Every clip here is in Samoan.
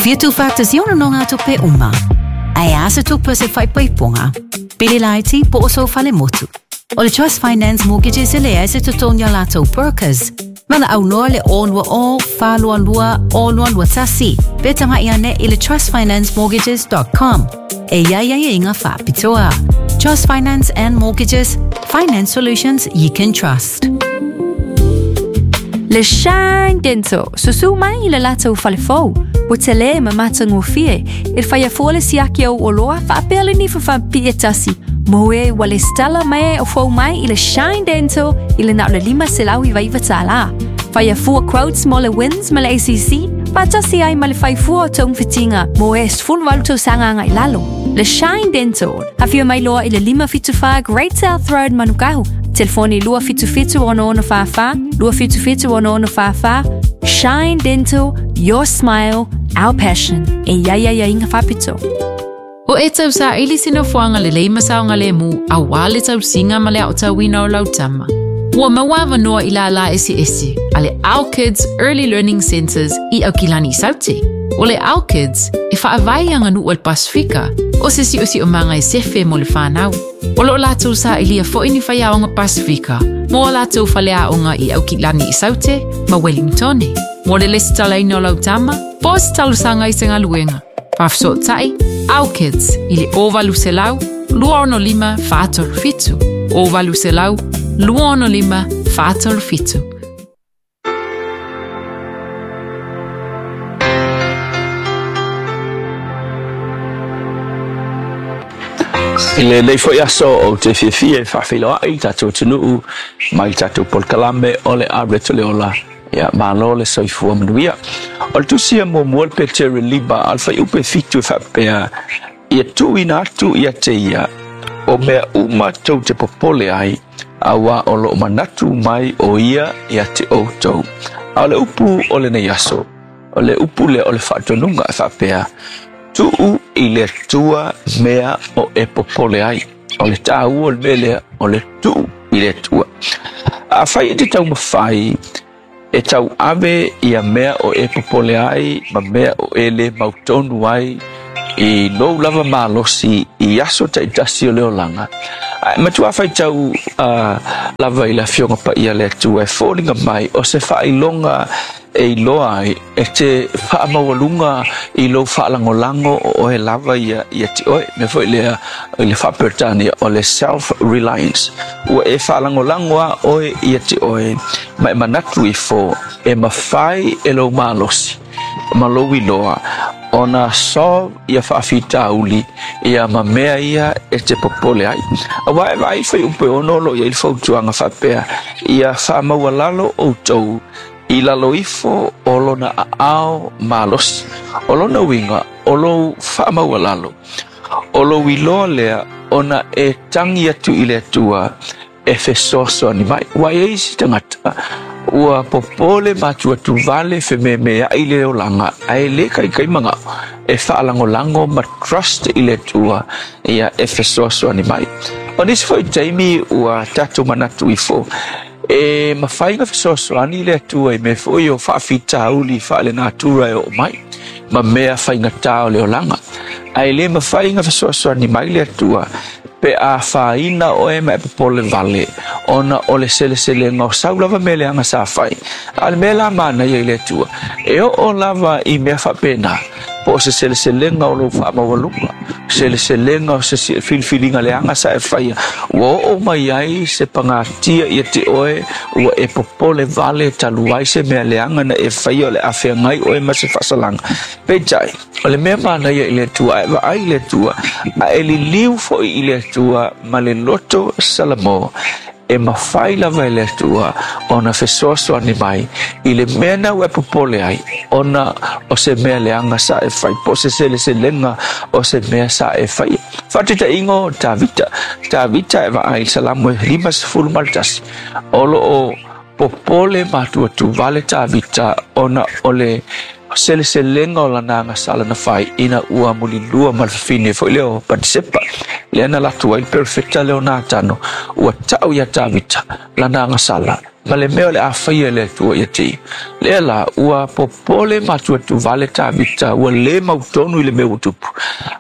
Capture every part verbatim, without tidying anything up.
fia tuufaatasia o nonogatupe uma, ae a se tupe o se faaipoipoga, pili laiti po o sou falemotu. O le Trust Finance Mortgages e leai se totogi a latou brokers. Valaau loa le o lua o, fa lua lua, o lua lua tasi, pe tagai ane i le trust finance mortgages dot com. E i ai aiaiga faapitoa. Trust Finance and Mortgages, finance solutions you can trust. Le Shine Dental, susu mai i le latou falefou. Ua tele ma matagofie, e whaia fua le siaki au oloa whaapea le nifa whaapia tasi. Moe ua le stala mai o fau mai i le Shine Dental i le nao le lima selau i vaiva tālā. Whaia fua quotes mo le wins ma le A C C, whaatasi ai ma le whaifua o taung whitinga, mo e sfulu walu tau sanga ngai lalo. Le Shine Dental, hawhia mai loa i le lima fitu wha Great South Road Manukau. Telefoni lua fitu fitu ono ono wha wha, lua fitu fitu ono ono wha wha. Shine Dental, your smile, our passion. E ia ia ia inga whapito. O e tau sa ili sina fuanga le leima saonga le mu a wā le tau singa ma le au tauina o lautama. Ua maua noa i la la esi esi, a le Our Kids Early Learning Centers i Aukilani Saute. O le Our Kids e whaavai anga nu al Pasifika, o se si o si o manga e sefe mo le whanau. O lo lātou sa ilia fo ini whai aonga Pasifika, mo a lātou whale aonga i Aukilani Saute ma Wellingtone. Mo le lesi talaina o lautama, po se talusanga i se ngaluenga. Whafso tai, Our Kids, i le o valu selau, lua ono lima whātoro fitu. O valu selau, lua ono lima whātoro fitu. I le lei foi aso o te fiafia e whaawhiloa i tātou tunuu mai tātou polkalame o le areto le ola. Ia malo le soifua manuia. O le tusia mo mua le Petere Liba al whai upe fitu e whapea ia tuina atu ia te ia o mea uma tau te popole ai a wā o lo manatu mai o ia ia te o tau. A o le upu o le nei aso, o le upu le o le whaatonunga e whapea tuu i le tua mea o e popole ai. O le tāu o le melea o le tuu i le tua. A whai e te tau mawhai e tau ave ia mea o e popole ai ma mea o e le mautonu ai i lou lava malosi i aso taitasi o le olanga. Ai, matua whai tau uh, lava i la fionga pa ia le atua e fōringa mai o se whailonga e iloa ai e te whaamaualunga i lou whaalangolango o oe lava ia, ia te oe. Me foi lea i le whaapertania o le self-reliance. Ua e whaalangolango a oe ia te oe ma e manatu i fō e mawhai e lou malosi ma lou iloa ona solve ia whaafitauli ia ma mea ia e te popole ai. A wae vai whai upe ono lo ia i fautuanga whapea ia whaamaualalo o tau i lalo ifo o lona aao malosi. O lona winga o lou whaamaualalo. O lou iloa lea ona e tangi atu i le atua e fesoasoani ni mai. Wai e isi tangata ua popole matua tuvale whememe ai le olanga ai le kai kai manga e whaalangolango ma trust i le atua ia e fesoasoani ni mai. O nisi foi taimi ua tātou manatu ifo e mawhainga fesoasoani le atua i me foi o whaafitauli whaale natura e o mai ma mea whainga o le olanga. Ai le mawhainga fesoasoani mai le atua pe a whaina o e ma e popole vale ona o le selesele ngau sau lava me le anga sa whai. A le mea la mana ia i le atua e o o lava i mea whapena po o se seleselenga o lou whaamaualuga seleselenga o se filfilinga le anga sa e whaia ua o o mai ai se pangatia ia te oe ua e popole vale talu ai se mea le anga na e whaia o le awhea ngai oe ma se whasalanga. Peitai, o le mea mana ia i le atua e vaai i le atua a e liliu foi i le atua ma le loto Salamo e mawhai lava e le atua ona fesoasoani mai i le mea na ua popole ai ona o se mea leanga sa e whai po se seleselenga o se mea sa e whai. Whatita ingo Tavita Tavita e vaai salamu e lima sefulu maltasi o lo o popole matua tuvale Tavita ona o le seleselenga o lana sala na whai ina ua mulilua malfafine foi leo Patisepa le ana latu ai perfecta leo Natano ua tau ia Tavita lana sala Ma le mea o le a faia e le Atua ia te ia. Lea la, ua popole matuatuvale Tavita, ua lē mautonu i le mea ua tupu.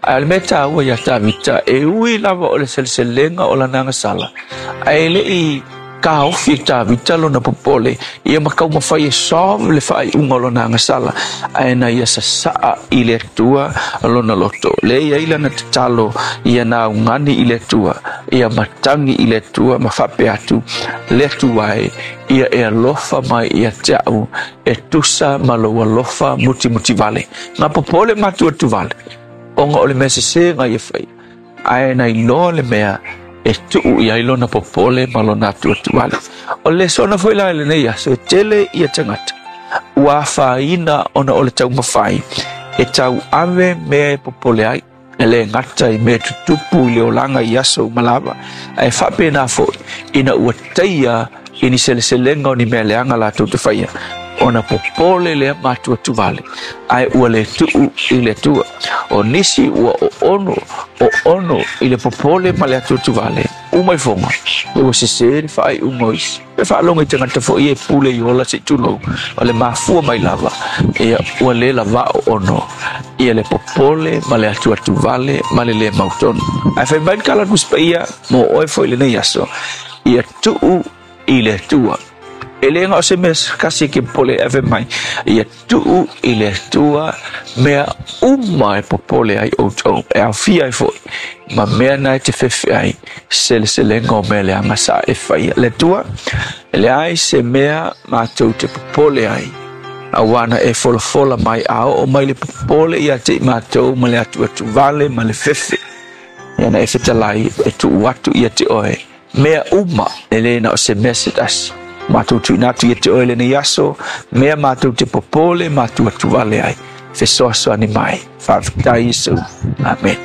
Ae o le mea taua iā Tavita, e ui lava o le seleselega o lana agasala, ae le i taofi e Tavita lona popole ia ma taumafai e solve le faaiuga o lona agasala, ae na ia sasaa i le Atua lona loto. Lea e i ai lana tatalo ia na augani i le Atua, ia matagi i le Atua ma faapea atu, le Atua e, ia e alofa mai ia te au e tusa ma lou alofa mutimutivale. Na popole matuatuvale ona o le mea sesē na ia faia, ae na iloa le mea e tuu i ai lona popole ma lona atuatuale. O le lesona foi la i lenei aso, e tele ia tagata ua afaina ona o le taumafai e tauave mea e popole ai, e lē gata i mea tutupu i le olaga i aso uma lava, ae faapena foi ina ua taia i ni seleselega o ni mea leaga latou te faia, ona popole lea matuatuvale, ae ua lē tuu i le Atua. O nisi ua oono oono i le popole ma le atuatuvale, uma ifoga ua sesē le faaiuga o isi. E faalogo i tagata foi e pule i ola se i tulou, o le mafua mai lava ia ua lē lavao ono ia le popole ma le atuatuvale ma le lē mautonu. Ae fai mai le tala a le Tusi Paia mo oe foi i lenei aso, ia tuu i le Atua. E le na o se mea kasi e ke popole, ae fai mai, ia tuu i le Atua mea uma e popole ai outou, e aofia ai foi ma mea na e te fefe ai seleselega o mea leaga sa e faia. Le Atua, e leai se mea matou te popole ai, auā na e folafola mai a oo mai le popole ia te i matou ma le atuatuvale ma le fefe, ia na e fetalai e tuu atu ia te oe mea uma, e lē na o se mea se tasi. Matou tuuina atu ia te oe lenei aso mea matou te popole ma atuatuvale ai, fesoasoani mai. Faafetai Iesu. Amen.